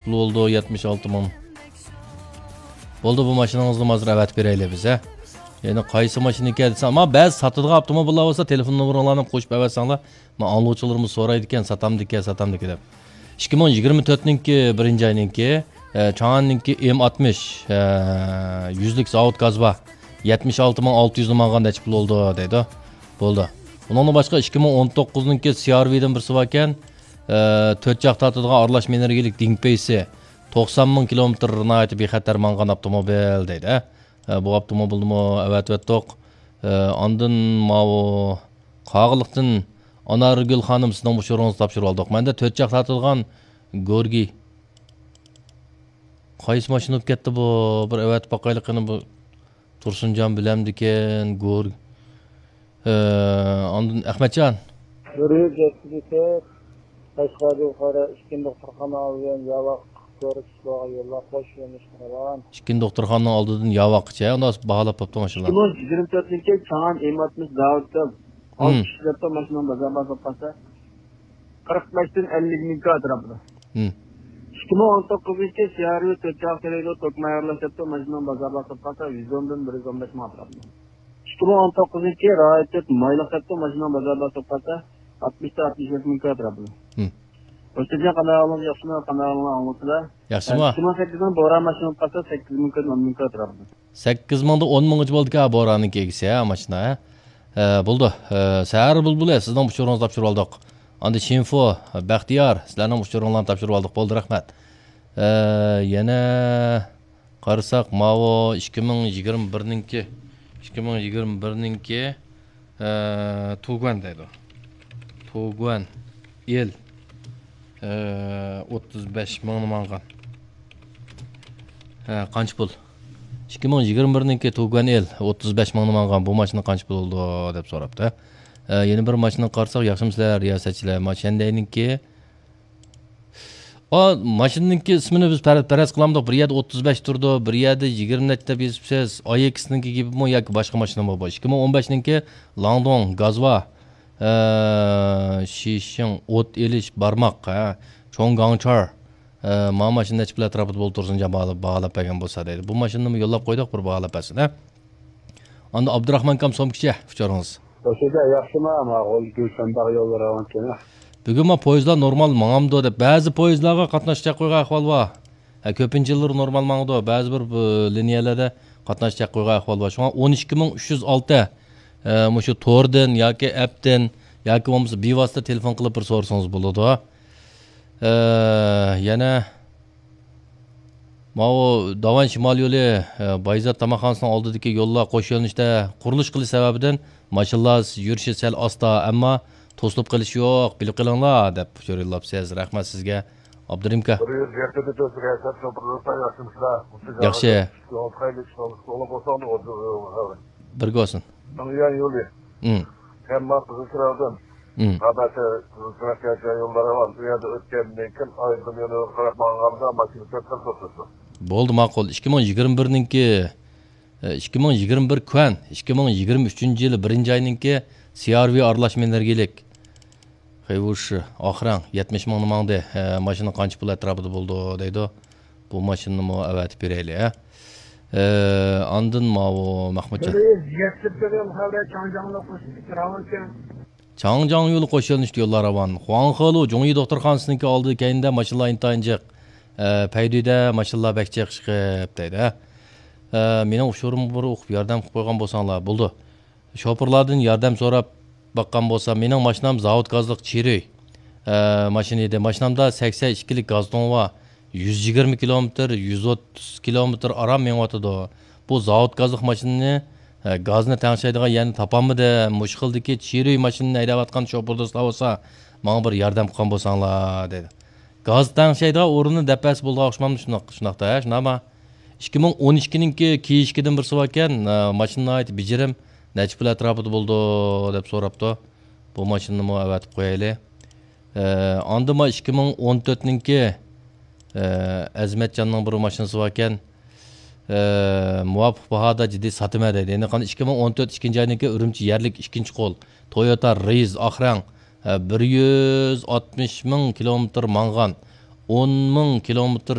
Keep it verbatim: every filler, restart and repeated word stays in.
پۇل بولدى، يەتمىش ئالتە مىڭ. بولدى، بۇ ماشىنىڭىزنى ھازىر ئەۋەتىپ بېرەيلى بىز، ھە. يەنە قايسى ماشىنا ئىكەن دېسەڭ، ئەمما بەزى ساتىدىغان ئاپتوموبىللار بولسا، تېلېفون نومۇرۇڭلارنى قوشۇپ ئەۋەتسەڭلار، ما ئاڭلىغۇچىلىرىمىز سورايدىكەن، ساتامدىكەن، ساتامدىكەن دەپ. ئىككى مىڭ يىگىرمە تۆتنىڭكى بىرىنچى ئاينىڭكى، ئە، چاڭاننىڭكى ئېم ئاتمىش، ئە، يۈزلۈك زاۋۇت گاز بار. يەتمىش ئالتە مىڭ ئالتە يۈز ماڭغان نەچچە پۇل بولدى دەيدۇ. بولدى. ئۇنىڭدىن باشقا ئىككى مىڭ ئون توققۇزنىڭكى سى ئار ۋىدىن بىرسى باركەن، ئە، تۆت چاق تارتىدىغان ئارىلاش ئېنېرگىيەلىك دىڭپېيسى، توقسان مىڭ كىلومېتىر ناھايىتى بىخەتەر ماڭغان ئاپتوموبىل دەيدۇ، ھە. ئە، بۇ ئاپتوموبىلنىمۇ ئەۋەتىۋەتتۇق. ئە، ئاندىن ماۋۇ قاغىلىقتىن ئانارگۈل خانىم، سىزنىڭ ئۇچۇرىڭىزنى تاپشۇرۇۋالدۇق. مەندە تۆت چاق تارتىدىغان گورگى. قايسى ماشىنا بولۇپ كەتتى بۇ؟ بىر ئەۋەتىپ باقايلى قېنى بۇ. تۇرسۇنجان بىلەمدىكەن، گور-، ئە، ئاندىن ئەخمەتجان. بىر يۈز يەتتە لىتىر قەشقەردىن بۇخارا ئىككىنچى دوختۇرخانا ئالدىدىن ياۋاق كۆرۈپ يوللار قوش يۆنىلىش قىلغان. ئىككىنچى دوختۇرخانىنىڭ ئالدىدىن ياۋاققىچە، ئۇنداق باھالاپ بوپتۇ ماشىنىلار. ئىككى مىڭ يىگىرمە تۆتىنچى چاڭان ئېم ئاتمىش داۋۇت ئالتە يۈز دەپتۇ ماشىنىنىڭ بازار باھاسى قىرىق بەشتىن ئەللىك مىڭ ئەتراپىدا. مم. ئىككى مىڭ ئون توققۇزىنچى سى ئار ۋى تۆت چاق تېرەيدۇ، توك مايارلاش دەپتۇ ماشىنىنىڭ بازار باھاسى قىرىق بەشتىن يۈز ئون بىر يۈز ئون بەش مىڭ ئەتراپىدا. ئىككى مىڭ ئون توققۇزىنچى رايىت تۆت مايلىق دەپتۇ ماشىنىنىڭ بازار باھاسى قىرىق بەشتىن ئاتمىش بەش مىڭ ئەتراپىدا. مم. ئۆستەڭ قانداق ئاڭلاپ ياخشىمۇ، قانداق ئاڭلاپ ئاڭلىسىلا. ياخشىمۇ؟ ئىككى مىڭ سەككىزنىڭ بوران ماشىنىسى قالسا سەككىز مىڭ كۆت ئون مىڭ ئەتراپىدا. سەككىز مىڭدا ئون مىڭغىچە بولدىكەن بوراننىڭكى ئىگىسى، ھە، ماشىنا، ھە. ھە، بولدى. ھە، سەھەر بۇلبۇلى، سىزنىڭ ئۇچۇرىڭىزنى تاپشۇرۇۋالدۇق. ئاندىن شىنفو، بەختىيار، سىلەرنىڭ ئۇچۇرۇڭلارنى تاپشۇرۇۋالدۇق. بولدى، رەھمەت. ھە، يەنە قارىساق، ماۋۇ ئىككى مىڭ يىگىرمە بىرنىڭكى، ئىككى مىڭ يىگىرمە بىرنىڭكى، ئە، تۇگۇەن دەيدۇ. تۇگۇەن ئېل، ئە، ئوتتۇز بەش مىڭنى ماڭغان. ھە، قانچە پۇل؟ ئىككى مىڭ يىگىرمە بىرنىڭكى تۇگۇەن ئېل، ئوتتۇز بەش مىڭنى ماڭغان. بۇ ماشىنا قانچە پۇل بولىدۇ دەپ سوراپتۇ. ئە، يەنە بىر ماشىنىغا قارىساق، ياخشىمۇسىلەر رىياسەتچىلەر؟ ما شەندەينىڭكى ئا، ماشىنىنىڭكى ئىسمىنى بىز پەر-، پەرەز قىلامدۇق. بىر يەردە ئوتتۇز بەش تۇرىدۇ، بىر يەردە يىگىرمە نەچچە دەپ يېزىپسىز. ئاي ئېكسنىڭكى گېپىمۇ ياكى باشقا ماشىنىمۇ بۇ؟ ئىككى مىڭ ئون بەشنىڭكى لاڭدوڭ، گازۋا، ئە، شىشىڭ، ئوت ئېلىش، بارماق، ھە، چوڭ گاڭچار، ئە، ما ماشىنا نەچچە پۇل ئەتراپىدا بولدى تۇرسۇنجان باھالاپ، باھالاپ بەرگەن بولسا دەيدۇ. بۇ ماشىنىنىمۇ يوللاپ قويدۇق، بىر باھالاپ بەرسۇن، ھە. ئاندىن ئابدۇراخمان ئاكام سومكىچە ئۇچۇرىڭىز. بەشىدە ياخشىما، ماقۇل، گۈلشەن باغ يوللىرى راۋانكەن. بۈگۈن ما پويىزلار نورمال ماڭامدۇ دەپ، بەزى پويىزلارغا قاتناش چەك قويغان ئەھۋال بار. ھە، كۆپىنچە يىللىرى نورمال ماڭىدۇ، بەزى بىر، بۇ، لىنىيەلەردە قاتناش چەك قويغان ئەھۋال بار. شۇڭا ئون ئىككى مىڭ ئۈچ يۈز ئالتە، ھە، مۇشۇ توردىن ياكى ئەپتىن ياكى بولمىسا بىۋاسىتە تېلېفون قىلىپ بىر سورىسىڭىز بولىدۇ. ھە، يەنە ماۋۇ داۋان شىمال يولى، ئە، بايزات تاماقخانىسىنىڭ ئالدىدىكى يوللار قوش يۆنىلىشتە قۇرۇلۇش قىلىش سەۋەبىدىن ماشىنىلار يۈرۈشى سەل ئاستا، ئەمما توسۇلۇپ قېلىشى يوق، بىلىپ قېلىڭلار، دەپ ئۇچۇر يوللاپسىز. رەھمەت سىزگە، ئابدۇرېھىم ئاكا. بىر يۈز يەتتە تۆت ياخشىمۇسىلەر؟ ياخشى. بىرگە بولسۇن. مىڭيۈەن يولى. ئىم. كەمما قىزىلچىراغدىن. ئىم. قابەتە قىزىلچىراغ كەلگەن يوللار بار. بۇ يەردە ئۆتكەندىن كېيىن ئايدىن يولىغا قاراپ ماڭغاندا ماشىنا كۆپ خىل توختىتىدۇ. بولدى، ماقۇل. ئىككى مىڭ يىگىرمە بىرنىڭكى، ئە، ئىككى مىڭ يىگىرمە بىر كۆن، ئىككى مىڭ يىگىرمە ئۈچىنچى يىلى بىرىنچى ئاينىڭكى سى ئار ۋى ئارىلاشما ئېنېرگىيەلىك. خېۋۇشى، ئاخرەڭ، يەتمىش مىڭنى ماڭدى. ھە، ماشىنا قانچە پۇل ئەتراپىدا بولىدۇ دەيدۇ. بۇ ماشىنىنىمۇ ئەۋەتىپ بېرەيلى، ھە. ئە، ئاندىن ماۋۇ مەخمۇتجان. بىر يۈز يەتتە بىر يول خەۋەر چاڭجاڭلىق قوشۇپ راۋانكەن. چاڭجاڭ يولى قوش يۆنىلىشتە يوللار راۋان. خۇاڭخېلۇ جۇڭيى دوختۇرخانىسىنىڭكى ئالدىدا كەينىدە ماشىنىلار ئىنتايىن جىق. ئە، پەيدۈيدە ماشىنىلار بەك جىق شىقىپ دەيدۇ، ھە. ئە، مېنىڭ ئۇچۇرۇمغا بىر ئوقۇپ ياردەم قىلىپ قويغان بولساڭلار بولدى. شوپۇرلاردىن ياردەم سوراپ باققان بولسا، مېنىڭ ماشىنام زاۋۇت گازلىق چىرۇي، ئە، ماشىنا ئىدى. ماشىنامدا سەكسەن ئىككىلىك گاز تۇڭى بار. يۈز يىگىرمە كىلومېتىر، يۈز ئوتتۇز كىلومېتىر ئاران مېڭىۋاتىدۇ. بۇ زاۋۇت گازلىق ماشىنىنى، ئە، گازنى تەڭشەيدىغان يەرنى تاپالمىدىم. مۇشۇ خىلدىكى چىرۇي ماشىنىنى ھەيدەۋاتقان شوپۇر دوستلار بولسا، ماڭا بىر ياردەم قىلغان بولساڭلار، دېدى. گاز تەڭشەيدىغان ئورۇننى دەپ بەرسە بولىدىغان ئوخشىمامدۇ؟ شۇنداق، شۇنداقتا، ھە، شۇنداقما؟ ئىككى مىڭ ئون ئىككىنىڭكى كېيىشكىدىن بىرسى باركەن، ئە، ماشىنا ناھايىتى بېجىرىم، نەچچە پۇل ئەتراپىدا بولىدۇ دەپ سوراپتۇ. بۇ ماشىنىنىمۇ ئەۋەتىپ قويايلى. ئە، ئاندىن ما ئىككى مىڭ ئون تۆتنىڭكى، ئە، ئەزمەتجاننىڭ بىر ماشىنىسى باركەن. ئە، مۇۋاپىق باھادا جىددىي ساتىمەن دەيدۇ. يەنە قانداق؟ ئىككى مىڭ ئون تۆت ئىككىنچى ئاينىڭكى ئۈرۈمچى يەرلىك ئىككىنچى قول تويوتا رېيز ئاخرەڭ، ئە، بىر يۈز ئاتمىش مىڭ كىلومېتىر ماڭغان. ئون مىڭ كىلومېتىر